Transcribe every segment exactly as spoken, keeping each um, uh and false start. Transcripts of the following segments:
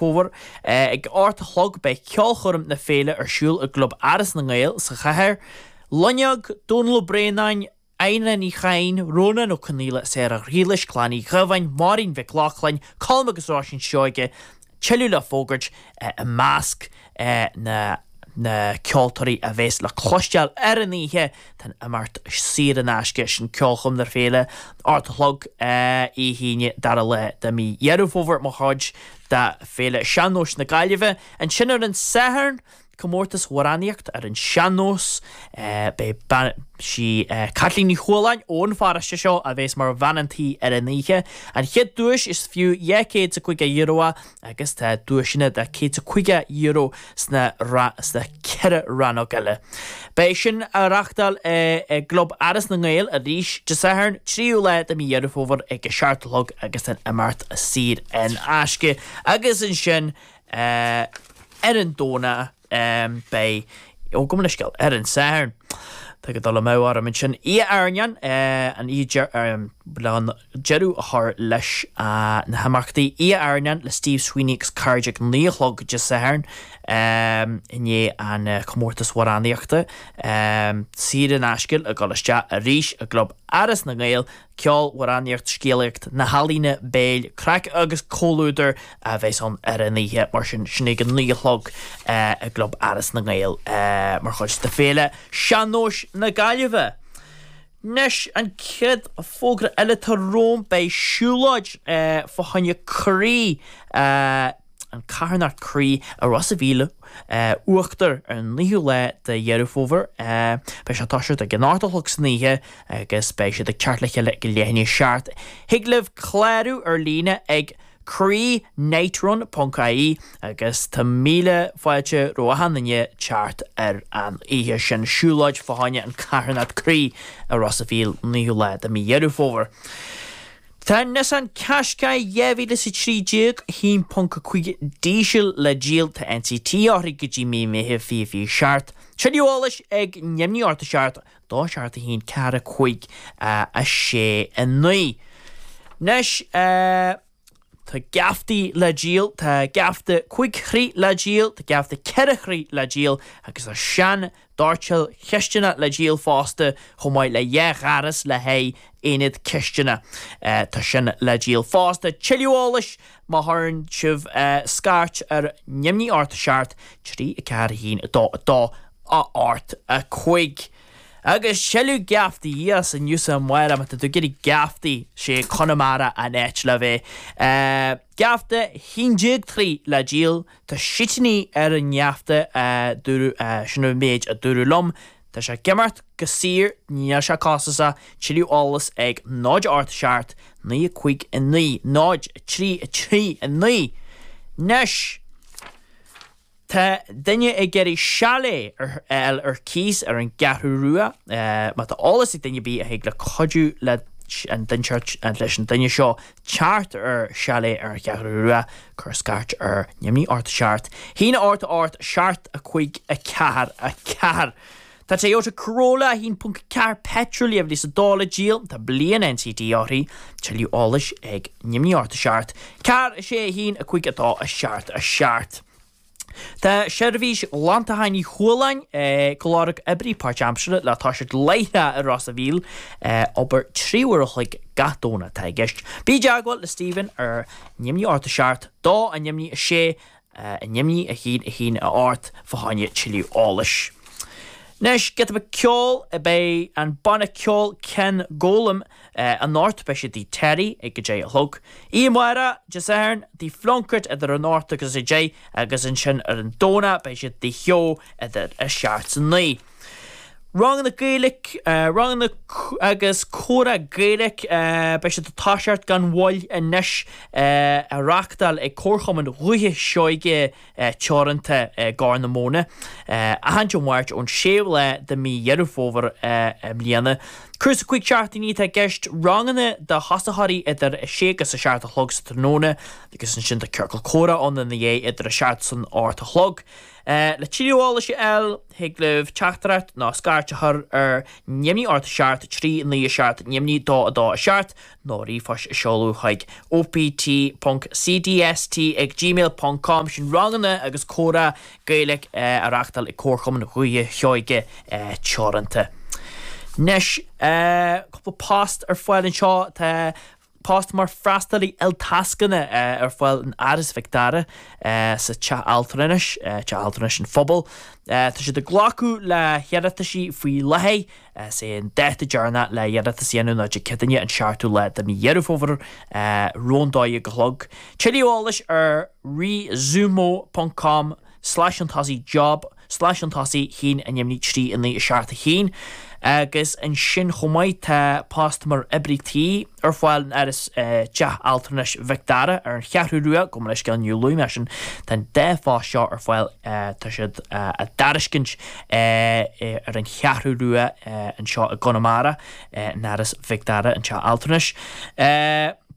Fómhair. Ag a hocht a chlog beidh ceolchoirm na féile ar siúl i gClub Áras na nGael sa chathair. Loinneog, Dónal Ó Braonáin, Adhna Ní Chadhain, Rónán Ó Conaola, Sarah Ghriallais, Clann Uí Dhubháin, Máirín Mhic Lochlainn, Colm agus Róisín Seoige, tuilleadh le fógairt i measc na na ceoltóirí a bheas le cloisteáil ar an oíche. Tá an imeacht saor in aisce, sin ceolchoirm na féile, ocht a chlog Dé hAoine dara lá de mí Dheireadh Fómhair mar chuid de Féile Sean-Nóis na Gaillimhe. Ansin ar an Satharn, comórtas amhránaíocht ar an sean-nós. Beidh bean sí Caitlín Ní Chualáin ón pharóiste seo a bheas mar bhean an tí ar an oíche. An chéad duais is fiú dhá chéad is a caoga euro é agus tá duaiseanna de céad is a caoga euro sna sna ceithre rannóg eile. Beidh sin á reachtáil i gClub Áras na nGael arís Dé Sathairn, tríú lá de mí Dheireadh Fómhair ag a seacht a chlog agus an imeacht saor in aisce. Agus ansin ar an Domhnach beidh, ó gabh mo leithscéal, ar an Satharn. Tá ag dul amú orm ansin. Oíche Airneáin, an oíche le deireadh a chur leis na himeachtaí. Oíche Airneáin le Steve Sweeney agus cairde ag naoi a chlog Dé Sathairn i ndiaidh an comórtas amhránaíochta. Saor in aisce ag dul isteach arís i gClub Áras na nGael. Ceol, amhránaíocht, scéalaíocht, na healaíona béil, craic agus comhluadar a bheas ann ar an oíche, mar sin, sin ag a naoi a chlog i gClub Áras na nGael mar chuid de Féile Sean-Nóis na Gaillimhe. Anois, an chéad fógra eile atá romham, beidh siúlóid fá choinne croí, an carthanacht croí i Ros a' Mhíl Uachtar ar an naoú lá de Dheireadh Fómhair. Beidh sé ag toiseacht ag an ocht a chlog san oíche agus beidh siad ag teacht le chéile ag leath i ndiaidh a seacht. Thig libh clárú ar líne ag croí nightrun ponc ie agus tá míle fáilte roimh achan duine teacht ar an oíche sin. Siúlóid fá choinne an carthanacht croí i Ros a' Mhíl naoú lá de mí Dheireadh Fómhair. Tá Nissan Qashqai dhá mhíle is a trí déag, a haon ponc a cúig díseal le díol, tá NCT uirthi go dtí mí Meitheamh fiche fiche seacht. Tuilleadh eolais ag neamhní ocht a seacht, dó seacht a haon ceathair a cúig a sé a naoi. Anois, tá geaftaí le díol, tá geafta cúig throigh le díol, tá geafta ceithre throigh le díol agus tá sean doirteal chistineach le díol fosta, chomh maith le dhá ghaireas le haghaidh aonad cistine. Tá sin le díol fosta. Tuilleadh eolais má chuireann sibh scairt ar neamhní ocht a seacht, trí a ceathair a haon a dó a dó a ocht a cúig. Agus tuilleadh geaftaí as inniu is amárach, má tá tú ag iarraidh geaftaí, sé Conamara an áit le bheith. Geafta haon déag troigh le díol, tá sítínní ar an ngeafta a dúradh, sin an méid a dúradh liom. Tá sé ag imeacht go saor, níl sé costasach, tuilleadh eolais ag náid ocht seacht, naoi a cúig a naoi, náid a trí a trí a naoi. Anois! Tá duine ag iarraidh chalet a fháil ar cíos ar an gCeathrú Rua. Má tá eolas ag duine ar bith a thig le cuidiú leis an leis an duine seo teacht ar chalet ar an Cheathrú Rua, cuir scairt ar neamhní ocht a seacht, haon a ocht a ocht, seacht a cúig a ceathair a ceathair. Tá Toyota Corolla a haon ponc ceathair petrol dhá mhíle is a dó le díol, tá bliain NCT uirthi, tuilleadh eolais ag neamhní ocht a seacht, ceathair a sé a haon a cúig a dó a seacht a seacht. Tá Seirbhís Ghlantacháin Uí Chualáin ag lorg oibrí páirtaimseartha le toiseacht láithreach i Ros a' Mhíl, obair trí uair a chloig gach Domhnach atá i gceist. Bí i dteagmháil le Stephen ar neamhní ocht a seacht, dó a neamhní a sé, a neamhní a haon a haon a ocht fá choinne tuilleadh eolais. Anois, giota beag ceoil, beidh an banna ceoil Ken Golem anocht, beidh siad i dTigh Terry ag a deich a chlog. Oíche amárach, Dé Sathairn, i dTigh Phlunkett idir an ocht agus a deich agus ansin ar an Domhnach beidh siad i dTigh Sheó idir a seacht is a naoi. Ranganna Gaeilge, ranganna agus comhrá Gaeilge, beidh siad ag toiseacht gan mhoill anois, á reáchtáil ag Comharchumann Dhúiche Seoige Teoranta i gCorr na Móna, achan Dé Máirt ón séú lá de mhí Dheireadh Fómhair i mbliana. Cúrsa cúig seachtainí atá i gceist, ranganna do thosaitheoirí idir a sé agus a seacht a chlog sa tráthnóna agus ansin tá ciorcal comhrá ann ina dhiaidh idir a seacht is an ocht a chlog. Le tuilleadh eolais a fháil, thig libh teachtaireacht nó scairt a chur ar neamhní ocht a seacht trí naoi a seacht neamhní dó a dó a seacht nó ríomhphost a seoladh chuig opt ponc cdst ag gmail ponc com. Sin ranganna agus comhrá Gaeilge á reáchtáil ag Comharchumann Dhúiche Sheoige Teoranta. Anois, cúpla post ar fáil anseo. Tá post mar freastalaí iltascanna ar fáil in Áras Mhic Dara sa Teach Altranais, Teach Altranais an Phobail. Tá siad ag glacadh le hiarrataisí faoi láthair. Is é an dáta deireanach le hiarratas a dhéanamh ná Dé Céadaoine an seachtú lá de mhí Dheireadh Fómhair roimh an dó dhéag a chlog. Tuilleadh eolais ar resumo ponc com slais chun tosaigh job slais chun tosaigh haon neamhní trí a naoi a seacht a haon agus ansin chomh maith tá post mar oibrí tí ar fáil in Áras Teach Altranais Mhic Dara ar an Cheathrú Rua, gabh mo leithscéal níor luaigh mé sin, tá an dá phost seo ar fáil tá siad á dtairiscint ar an Cheathrú Rua anseo i gConamara in Áras Mhic Dara an Teach Altranais.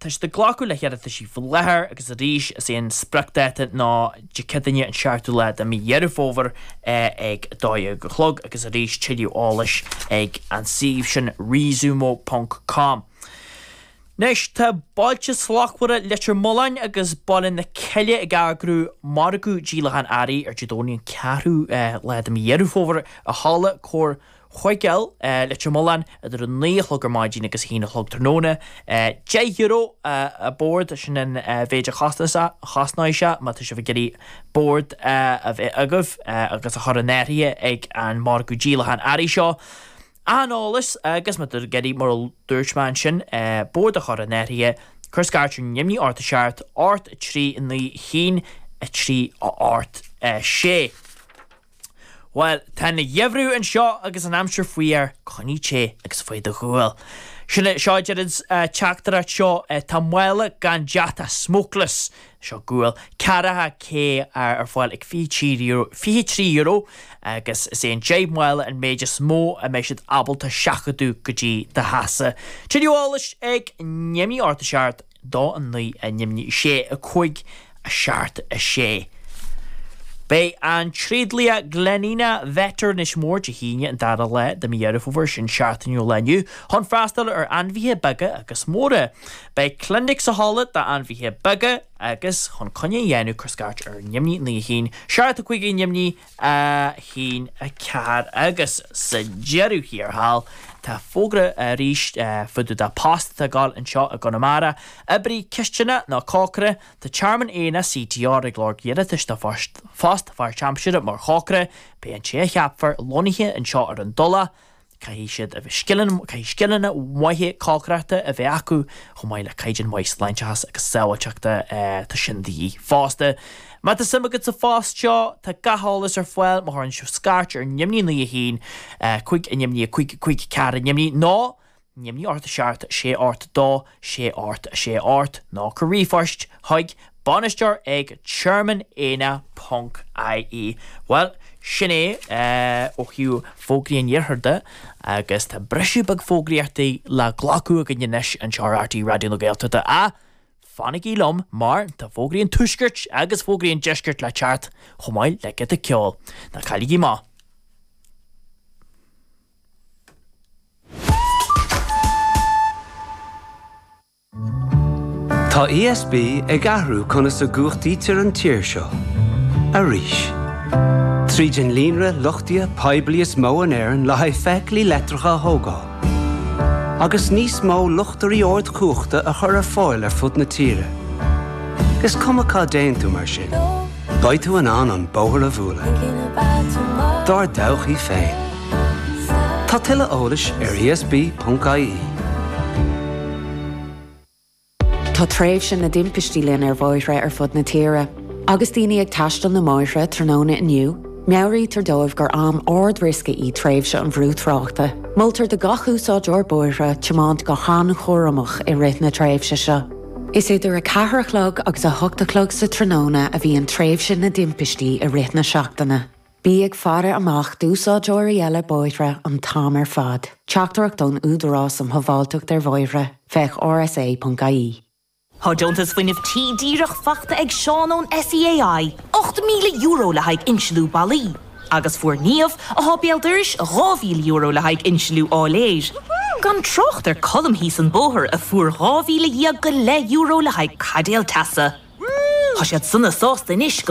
Tá siad ag glacadh le hiarrataisí faoi láthair agus arís is é an spriocdháta ná Dé Céadaoine an seachtú lá de mhí Dheireadh Fómhair ag a dó dhéag a chlog agus arís tuilleadh eolais ag an suíomh sin resumo ponc com. Anois tá Bailte Slachtmhara Leitir Mealláin agus Baile na Cille ag eagrú margadh díolachán earraí ar Dé Domhnaigh an ceathrú lá de mhí Dheireadh Fómhair i Halla Comhar Chuigéil, Leitir Mealláin, idir a naoi a chlog ar maidin agus a haon a chlog tráthnóna. Deich euro an bord, sin an mhéid a chosnóidh sé má tá sibh ag iarraidh bord a bheith agaibh agus a chur in áirithe ag an margadh díolachán earraí seo. Achan eolas agus má tá tú ag iarraidh, mar a dúirt mé ansin, bord a chur in áirithe, cuir scairt ar neamhní ocht a seacht, ocht a trí naoi haon a trí a ocht a sé. Bhuel, tá an geimhreadh anseo agus an aimsir faoi aer, coinnigh te agus faigh do ghual. Sin é, seo a deir an teachtaireacht seo, tá mála gan deatach, smokeless, seo gual, ceathracha K ar fáil ag fiche trí euro, fiche trí euro agus is é an deich mála an méid is mó a mbeidh siad ábalta seachadadh go dtí do theachsa. Tuilleadh eolais ag neamhní ocht a seacht, dó a naoi a neamhní sé a cúig a seacht a sé. Beidh an tréidlia Glenina Vet ar Inis Mór Dé hAoine an dara lá de mhí Dheireadh Fómhair, sin seachtain ó lá inniu, chun freastal ar ainmhithe beaga agus móra. Beidh clinic sa halla d'ainmhithe beaga agus chun coinne a dhéanamh cuir scairt ar neamhní naoi a haon, seacht a cúig neamhní a haon a ceathair agus sa deireadh thiar thall tá fógra arís fá dtaobh de post atá ag gabháil anseo i gConamara, oibrí cistine nó cócaire, Tá Tearmann Éanna CTR ag lorg iarratais do phost pháirtaimseartha mar chócaire. Beidh an té a cheapfar lonnaithe anseo ar an Tulach. Caithfidh siad a bheith scileanna, caithfidh scileanna maithe cócaireachta a bheith acu, chomh maith le caighdeán maith sláinteachais agus sábháilteachta, tá sin de dhíth fosta. Má tá suim agat sa phost seo, tá gach eolas ar fáil má chuireann sibh scairt ar neamhní naoi a haon, cúig neamhní a cúig cúig ceathair neamhní nó neamhní ocht a seacht sé ocht dó sé ocht sé ocht nó cuir ríomhphost chuig bainisteoir ag tearmann éanna ponc ie. Bhuel, sin é ó thaobh fógraí an iarthair de agus tá briseadh beag fógraíochtaí le glacadh againn anois anseo ar RTÉ Raidió na Gaeltachta. Ach fanaigí liom mar tá fógraí an tuaiscirt agus fógraí an deiscirt le teacht chomh maith le giota ceoil. Ná cailligí amach! Tá ESB ag athrú conas a gcumhachtaítear an tír seo. Arís. Tríd an líonra luchtaithe poiblí is mó in Éirinn le haghaidh feithiclí leictreacha a thógáil. Agus níos mó luchtairí ardchumhachta a chur ar fáil ar fud na tíre. Is cuma cá dtéann tú mar sin, beidh tú in ann an bóthar a bhualadh. Dár dtodhchaí féin. Tá tuilleadh eolais ar esb.ie. Tá tréimhse na dtimpistí linn ar bhóithre ar fud na tíre. Agus daoine ag taisteal na mbóithre tráthnóna inniu, meabhraítear dóibh gur am ard-riosca í tréimhse an bhrú tráchta. Moltar do gach úsáideoir bóithre tiomáint go han-chúramach i rith na tréimhse seo. Is idir a ceathair a chlog agus a hocht a chlog sa tráthnóna a bhíonn tréimhse na dtimpistí i rith na seachtaine. Bí ag faire amach d'úsáideoirí eile bóithre an t-am ar fad. Teachtaireacht ón Údarás um Shábháilteacht ar Bhóithre, féach rsa.ie. Tá deontas fuinnimh tí díreach faighte ag Seán ón SEAI. Ocht míle euro le haghaidh insliú ballaí. Agus fuair Niamh atá béal dorais dhá mhíle euro le haghaidh insliú áiléir. Gan trácht ar Colm thíos an bóthar a fuair dhá mhíle dhéag go leith euro le haghaidh caidéal teasa. Tá siad sona sásta anois go